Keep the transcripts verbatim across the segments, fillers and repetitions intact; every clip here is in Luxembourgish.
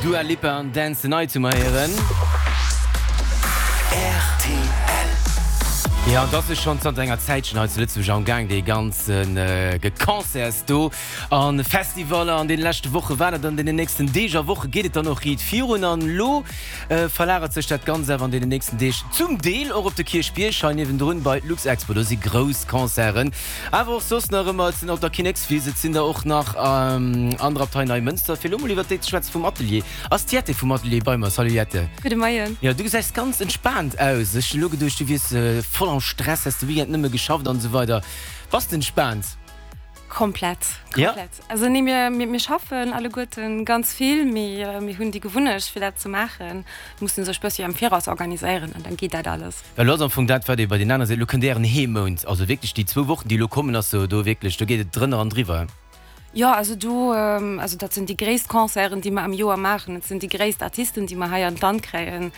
Dua Lipa an Dance the Night hu mer héieren. Rtl. Jo, an et ass jo schonn zanter enger Zäitchen hei zu Lëtzebuerg am Gaang, dee ganze Geconcerts do a Festivaller. An deene leschte Woche war dat, an deenen nächsten Deeg a Woche geet et dann och riit virun. An elo verlagert sech dat Ganzt awer an deenen nächsten Deeg zum Deel och op de Kierchbierg hei niewendrun bei d'Luxexpo. Do si grouss Concerten, awer och soss nach ëmmer. Et sinn op der Kinnekswiss, et sinn der och nach an der Abtei Neimënster. Fir elo mol iwwert déi ze schwätzen vum Atelier, ass d'Jette vum Atelier bei mer. Salut Jette. Gudde Moien. Jo, du gesäis ganz entspaant aus. Ech hunn elo geduecht, du wiers voll am Stress, häss de Weekend nëmme geschafft an esou weider. Bass de entspaant? Komplett, komplett. Ja? Also nee, mir, mir, mir schaffen alleguerten ganz vill, mee mir hunn déi Gewunnecht fir dat ze maachen, mussen sech bëssi am Viraus organiséieren an dann geet dat alles. Well elo ass am Fong dat wat ee bei den anere seet, elo kënnt ären Heemount, also wierklech déi zwou Wochen déi elo kommen ass sou do wierklech, do geet et drënner an driwwer. Jo, also do, also dat sinn déi gréisst Concerten, déi mer am Joer maachen. Et sinn déi gréisst Artisten, déi mer hei an d'Land kréien.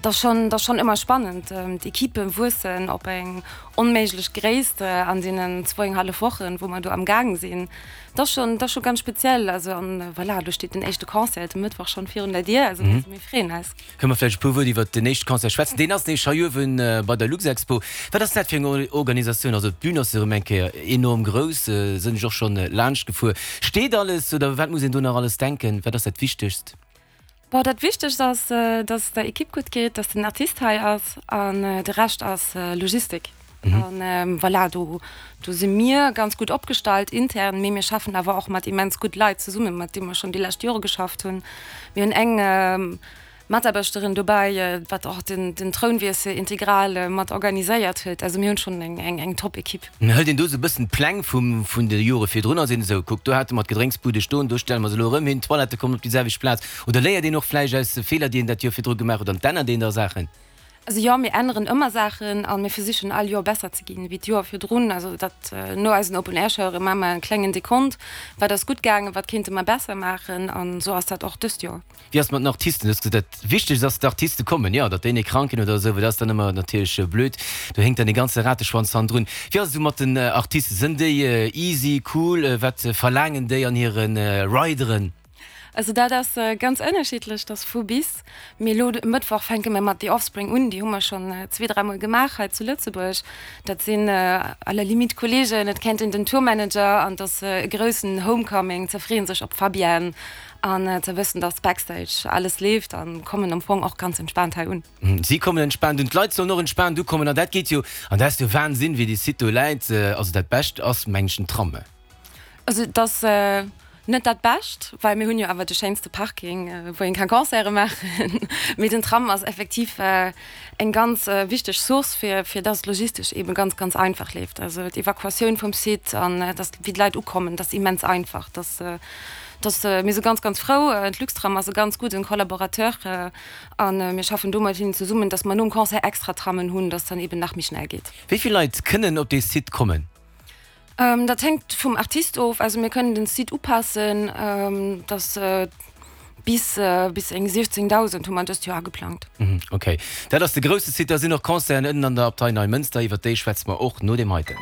Dat ass schonn, dat ass schonn ëmmer spannend. D'Ekippe wuessen op eng onméiglech Gréisst an deenen zwouenghallef Wochen, wou mer do am Gaang sinn. Dat ass schonn, dat ass scho ganz speziell. Also an voilà, elo steet den éischte Concert de Mëttwoch schonn virun der Dier. Also mir freeën eis. Kënne mer vläicht e puer Wuert iwwert den éischte Concert schwätzen? Deen ass nämlech hei uewen bei der Luxexpo. Wat ass dat fir eng Organisatioun? Also d'Bün ass jo erëm eng Kéier enorm grouss, sinn ech och schonn laanscht gefuer. Steet alles oder wat muss een do nach alles denken? Wat ass dat Wichtegst? Bon, dat Wichtegst ass, dass et der Ekipp gutt geet, dass den Artist hei ass an de Rescht ass Logistik. An voilà, do do si mir ganz gutt opgestallt intern, mee mir schaffen awer och mat immens gutt Leit zesummen, mat deem mer schonn déi lescht Jore geschafft hunn. Mir hunn eng Mataarbechterin dobäi, wat och den den Trounwiessel integral mat organiséiert huet. Also mir hunn schonn eng eng eng Top-Ekipp. Hëlt een do esou e bëssen d'Pläng vum vun de Jore virdrun a seet esou, kuck do hate mer d'Gedrénksbude stoen, do stelle mer se elo erëm hin, d'Toilettë kommen op déi selwecht Plaz? Oder léiert een och vläicht aus de Feeler, déi een dat Joer virdru gemaach huet an d'ännert een da Saachen? Also jo, mir änneren ëmmer Saachen a mir versichen all Joer besser ze ginn wéi d'Joer virdrun. Also dat no eisen Open Air Showe maache mer en klengen Dekont, wat ass gutt gaangen, wat kéinte mer besser maachen an esou ass dat och dëst Joer. Wéi ass et mat den Artisten? Du hues gesot, dat Wichtegst ass, d'Artiste kommen. Jo, datt déi net krank ginn oder esou, well dat ass dann ëmmer natierlech blöd. Do hénkt dann e ganze Rateschwanz hannendrun. Wéi ass et esou mat den Artisten? Sënn déi easy, cool? Wat verlaangen déi an hire Rideren? Also dat ass ganz ënnerschiddlech, dat ass vu bis. Mee elo de Mëttwoch fänke mir mat The Offspring un, déi hu mer schonn zwee, dräi Mol gemaach hei zu Lëtzebuerg. Dat sinn à la limite Kolleegen, et kennt een den Tourmanager an et ass e groussen Homecoming. Se freeën sech op d'Fabienne an ze wëssen, dass backstage alles leeft an kommen am Fong och ganz entspaant hei un. Si kommen entspaant un, d'Leit sollen och entspaant ukommen an dat geet jo, an dat ass jo Wahnsinn, wéi dee Site do läit. Also dat Bescht ass mengen ech den Tram. Also et ass net dat Bescht, well mir hunn jo awer de schéinste Parking, wou een ka Concerte maachen. Mee den Tram ass effektiv eng ganz wichteg Source, fir fir dass et logistesch eebe ganz, ganz einfach leeft. Also d'Evakuatioun vum Site an dass wéi d'Leit ukommen, dat ass immens einfach. Dass dass mir si ganz, ganz frou. D'Luxtram ass e ganz gudden Collaborateur a mir schaffen do mat hinnen zesummen, dass mer nom Concert extra Trammen hunn, dass dann eeben nach méi schnell geet. Wéi vill Leit kënnen op dee Site kommen? Dat hänkt vum Artist of. Also mir kënnen den Site upassen, dass bis bis eng siechzéngdausend hu mer dëst Joer ageplangt. Ok, dat ass de grousse Site. Da sinn och Concerten ënnen an der Abtei Neimënster, iwwer déi schwätze mer och no deem heiten.